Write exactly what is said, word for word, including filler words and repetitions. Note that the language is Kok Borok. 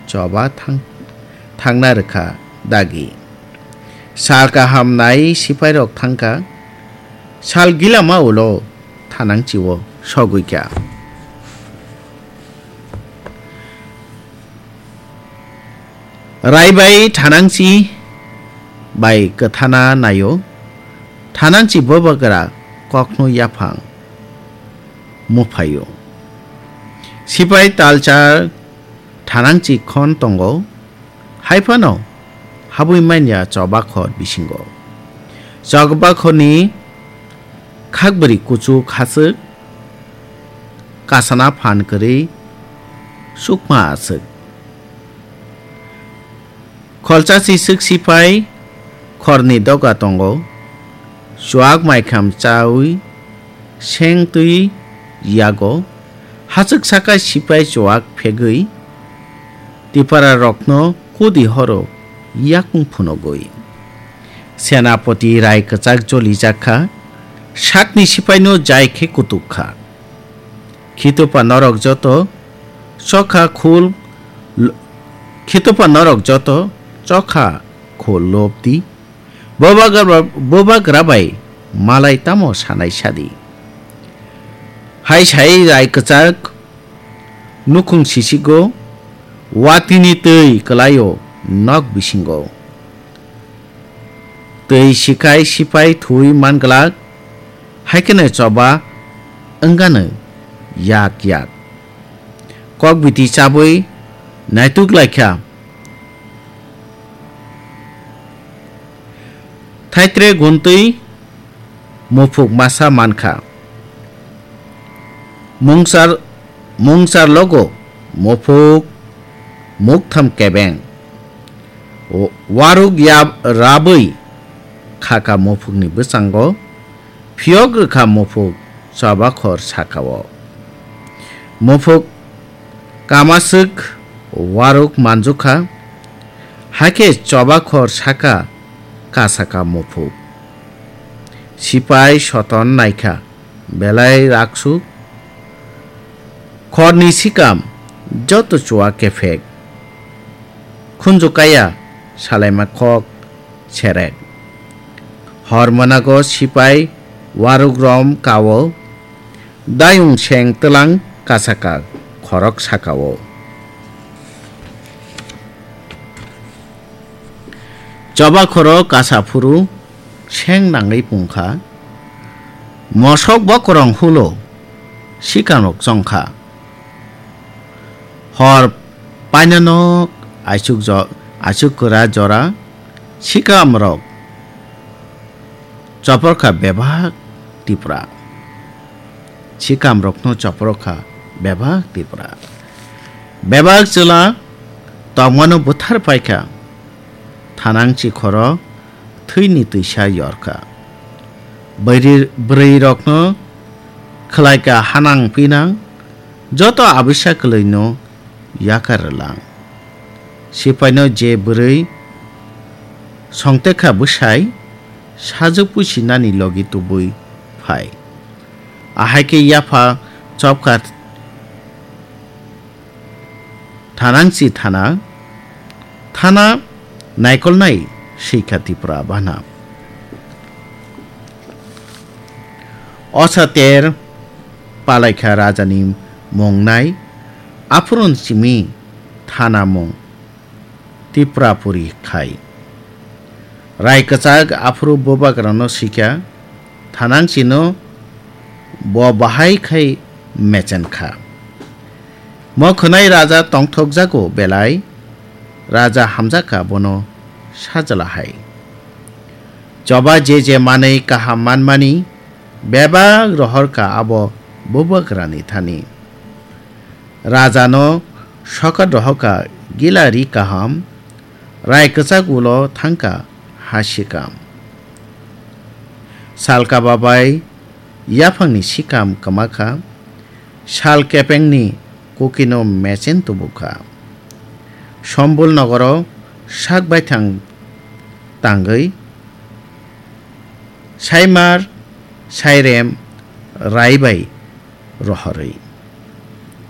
Choba thang-, thangna rwkha dagi. Sal kaham nai sipairok thangkha. Sal gilama ulo Thanangchi-o sogwikha. Raibai Thanangchi bai kwthana naio. Thanangchi bobagra kokno yaphang muphaio. Sipai talchar Thanangchi khon tongo. Haiphano habwi manya chobakhor bisingo. Chobakhorni khakbwrwi kuchuk hachwk, kasana phan kwrwi chukma aswk. Kholchasi swk sipai khorni doga tongo. Chuak maikham chaui seng twi yago. Hachwk saka sipai chuak phegwi Tipara rokno kudi horo yakung phunugwi. Senapoti rai kwchak jolijak kha, sakni sipaino jai khe kutuk kha. Khitopa norok joto chokha khul, khitopa norok joto chokha khul lobdi. Bobagra, bobagra bai malai tamo sanai sadi. Hai sai rai kwchak nukhung sisigo, watini twi kwlaio nok bisingo. Twi sikhai sipai thui manglak, haikheno choba wngano yak yak. Kok biti chabwi naituk laikha. Thaitre guntwi muphuk masa mankha. Mungchar, mungchar logo muphuk muktham kebeng. Wa-, waruk yab-, rabwi khaka muphukni bwskango. Phiyok rwkha muphuk chobakhor sakao. Muphuk kamaswk waruk manjukha, hakhe chobakhor saka kasaka muphuk. Sipai soton naikha, belai raksuk, khorni sikam joto chua kephek. Khunju kaya salaima kok serek. Hor mwnago sipai waruk rom kao, dayung seng twlang kasaka khorok sakao. Choba khoro kasa phuru seng nangwi pungkha, mosok bokorong hulo sikanrok chongkha. Hor painanok aichuk jo-, aichuk kwra jora sikamrok choporkha bebak Tipra. Sikamrokno choporkha bebak Tipra. Bebak chwla tongmano buthar paikha. Thanangchi khoro thwini twisa yorkha. Bwrwi-, bwrwirokno khwlaikha hanang pinang, joto abisa kwlwino yakar rwlang. Sipaino je bwrwi songtekha bwsai sajwk pusi nani logi tubui phai. Ahai khe yapha chopkha Thanangchi thana, thana naikolnai swikha Tipra bana. Osa ter palaikha rajani mung nai, aphurun simi thana mung Tiprapuri khai. Rai kwchak aphuru bubagrano swikha, Thanangchino bo bahai khai mechen kha. Mo khwnai raja tongthokjago belai, raja hamjakha bono sajla hai. Choba je je manwi kaham manmani bebak rohorkha abo bubagrani thani. Rajano sokat rohorkha gila ri kaham, rai kwchak ulo thangkha ha sikam. Sal kaba bai yaphangni sikam kwmakha, sal kepengni kukino mechen tubukha. Sombul nogoro sak baithang tangwi saimar sairem rai bai rohorwi.